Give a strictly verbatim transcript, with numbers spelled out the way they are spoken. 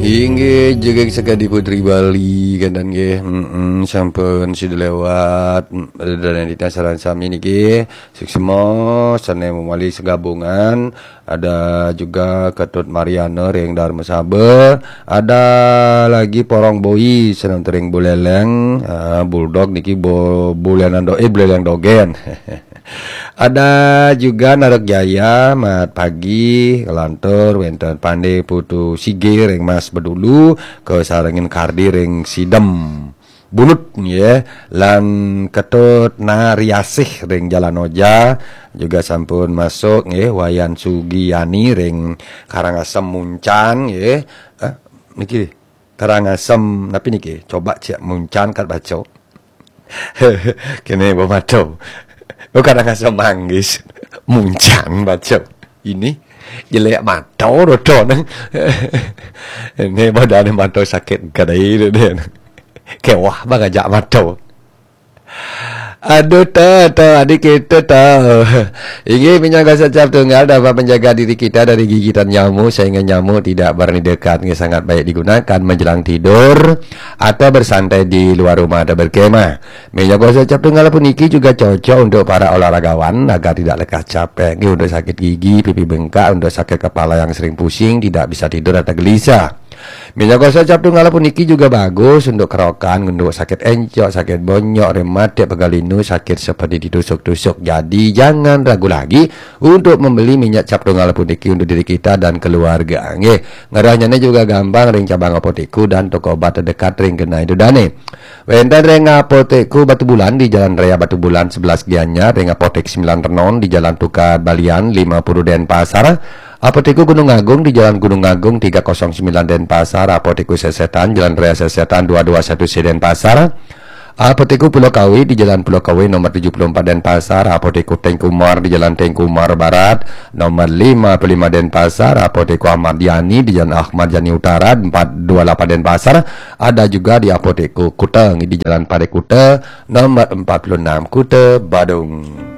Inggih, jegeg sekadi Putri Bali, kanten nggih. Mm-mm, sampun sida lewat. Mm, dan nitah sareng sami niki. Suksma, sané mawali segabungan. Ada juga Ketut Mariana ring Darmasaba. Ada lagi Porong Boy, seneng tering Buleleng. Ah, Bulldog niki bo-, Buleleng do-, eh, Buleleng Dogen. Ada juga Narok Jaya, mat pagi, lantur wénten Pandé Putu Sige ring Mas Bedulu, kasarengin Kardi ring Sidem Bulut, nggih, lan Ketut Nariasih ring Jalan Oja, juga sampun masuk, nggih, Wayan Sugiyani ring Karangasem Muncan, nggih. Eh, niki, Karangasem, napi niki? Coba cek Muncan kat baca. Kéné bemato. Oh, Karangasem Manggis. Muncan baca. Ini jelek mata rodo nang. Ini badan mata sakit gadai dia. Kewah bang ajak mata. Aduh, ta, ta, adik kita ta. Inggih, minyak gosok cap tunggal dapat menjaga diri kita dari gigitan nyamuk sehingga nyamuk tidak berani dekat. Ini sangat baik digunakan menjelang tidur atau bersantai di luar rumah atau berkemah. Minyak gosok cap tunggal puniki juga cocok untuk para olahragawan agar tidak lekas capek. Ini untuk sakit gigi, pipi bengkak, untuk sakit kepala yang sering pusing, tidak bisa tidur atau gelisah. Minyak gosok cap tunggal puniki juga bagus untuk kerokan, untuk sakit encok, sakit bonyok, rematik, pegal linu, sakit seperti ditusuk-tusuk. Jadi jangan ragu lagi untuk membeli minyak cap tunggal puniki untuk diri kita dan keluarga. Nggih, ngerehnyané juga gampang ring cabang Apotekku dan toko obat terdekat ring genah ida dané. Wénten ring Apotekku Batubulan di Jalan Raya Batubulan sebelas Gianyar, ring Apotek Sembilan Renon di Jalan Tukad Balian lima puluh Denpasar, Apotekku Gunung Agung di Jalan Gunung Agung tiga kosong sembilan Denpasar, Apotekku Sesetan Jalan Raya Sesetan dua dua satu C Denpasar, Apotekku Pulau Kawe di Jalan Pulau Kawe nomor tujuh puluh empat Denpasar, Apotekku Tengkumar di Jalan Tengkumar Barat nomor lima puluh lima Denpasar, Apotekku Ahmad Yani di Jalan Ahmad Yani Utara empat dua lapan Denpasar, ada juga di Apotekku Kuta di Jalan Parit Kuta nomor empat puluh enam Kuta Badung.